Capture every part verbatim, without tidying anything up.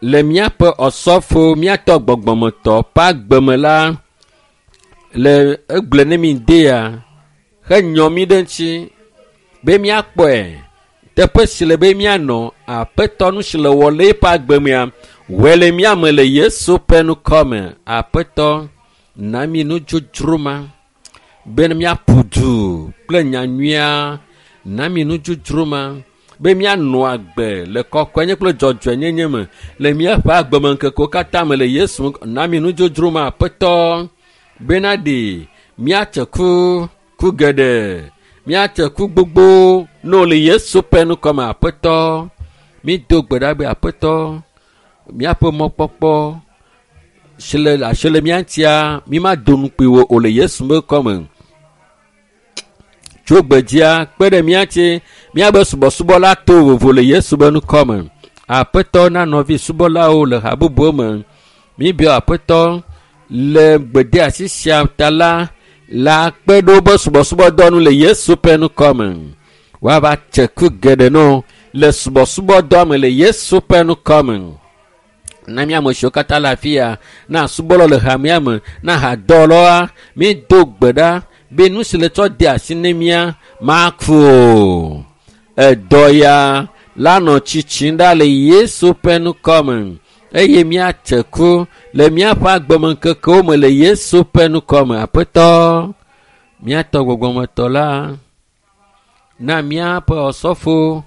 Le míaƒe ɔsɔfo míatɔ gbɔgbɔmetɔ ƒe agbeme la le egblɔe ne mi dea henyɔ mi ɖe ŋuti be míakpɔe teƒe si le be míanɔ aƒetɔ nu si le wɔ le eƒe agbemea wɔe le mía me le Yesu ƒe ŋkɔme. Aƒetɔ na mi nudzodzro ma be míaƒu du kple nyanyuia na mi nudzodzro ma be míanɔ agbe le kɔkɔenye kple dzɔdzɔenyenye me le míaƒe agbemeŋkekewo katã me le Yesu ŋkɔ na mi nudzodzro ma aƒetɔ bena ɖe míatse ku ku geɖe míatse ku gbogbo no le Yesu ƒe ŋkɔme aƒetɔ mído gbe ɖa be aƒetɔ míaƒe mɔkpɔkpɔ si le asi le mía ŋutia mímado nukpui wo o le Yesu ƒe ŋkɔme. Tso gbedzia kpe ɖe mía ŋuti míabe subɔsubɔ la to vovo le Yesu ƒe ŋkɔme. Aƒetɔ na nɔvi subɔlawo le ha bubuwo me. Míbiɔ aƒetɔ le gbedeasi sia ta la la kpe ɖe woƒe subɔsubɔdɔ nu le Yesu ƒe ŋkɔme. Woava tse ku geɖe no le subɔsubɔdɔa me le Yesu ƒe ŋkɔme. Na mía ame siwo katã le afi ya, na subɔlawo le hamea me, na hadɔwɔlawoa, mído gbe ɖa be nu si le tsɔ de asi ne mía maku o. Edɔ ya la nɔ tsitsim ɖa le Yesu ƒe ŋkɔme eye míatse ku le míaƒe agbemeŋkekewo me le Yesu ƒe ŋkɔme. Aƒetɔ, míatɔ gbɔgbɔmetɔ la, na míaƒe ɔsɔfo,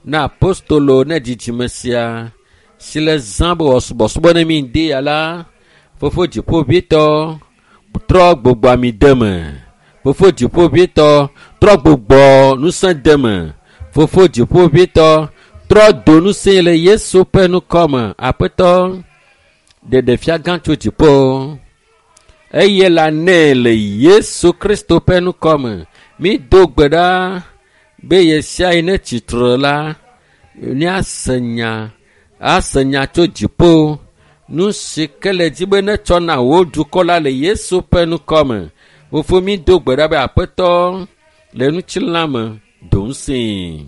na apostolo ne dzidzime sia si le zã be wòasubɔsubɔ ne mi ŋdi ya la, fofo dziƒoʋĩtɔ trɔ gbogbɔ ami de me. Fofo dziƒoʋĩtɔ trɔ gbogbɔ ŋusẽ de me. Fofo dziƒoʋĩtɔ trɔ do ŋusẽ le Yesu ƒe ŋkɔme. Aƒetɔ, ɖeɖefia gã tso dziƒo eye la nɛ le Yesu Kristo ƒe ŋkɔme. Mído gbe ɖa be ɣe sia ɣi ne tsitre la, míase nya ase nya tso dziƒo. Nu si ke le dzi be netsɔ na wò dukɔ la le Yesu ƒe ŋkɔme. Fofo mído gbe ɖa be aƒetɔ le ŋutilã me do ŋusẽe.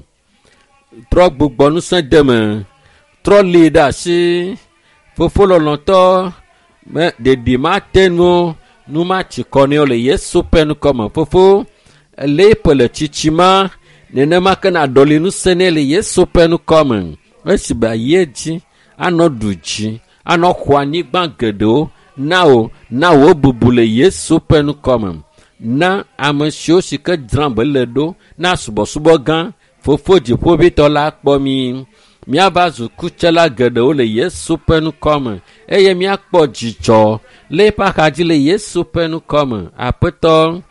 Trɔ gbugbɔ ŋusẽ de me. Trɔ li ɖe asi. Fofo lɔlɔ̃tɔ me ɖeɖi mate nu nu matsi kɔ nɛ o le Yesu ƒe ŋkɔme. Fofo le eƒe le tsitsi ma nenema ke na ɖɔli ŋusẽ nɛ le Yesu ƒe ŋkɔme. Esi be ayi edzi anɔ ɖu dzi anɔ xɔ anyigba geɖewo na wò na wò bubu le Yesu ƒe ŋkɔme. Na ame siwo si ke dzram be le ɖo na subɔsubɔ gã fofo dziƒoʋĩtɔ la kpɔ mi. Míava zu kutsela geɖewo le Yesu ƒe ŋkɔme eye míakpɔ dzidzɔ le eƒe axadzi le Yesu ƒe ŋkɔme. Aƒetɔ,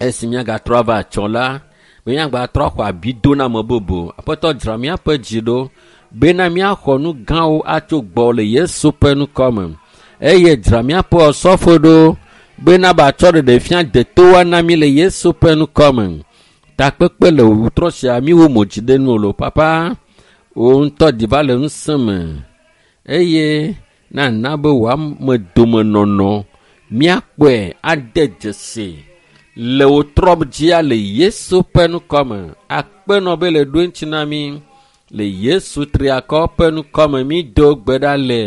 esi míagatrɔ ava atsɔ la, be míagatrɔ axɔ abi do na ame bubu. Aƒetɔ dzra míaƒe dzi ɖo bena míaxɔ nu gãwo atso gbɔ le Yesu ƒe ŋkɔme eye dzra míaƒe ɔsɔfo ɖo bena batsɔ ɖeɖefia detowoa na mí le Yesu ƒe ŋkɔme. Takpekpe le wòtrɔ sia míwo mo dzi ɖe nu o lo papa wò ŋutɔ ɖi va le ŋusẽ me eye nana be wò ame domenɔnɔ míakpɔe ade dzesi le wò trɔ dzia le Yesu ƒe ŋkɔme. Akpenɔ be le ɖo eŋuti na mí le Yesu triakɔ ƒe ŋkɔme mído gbe ɖa le.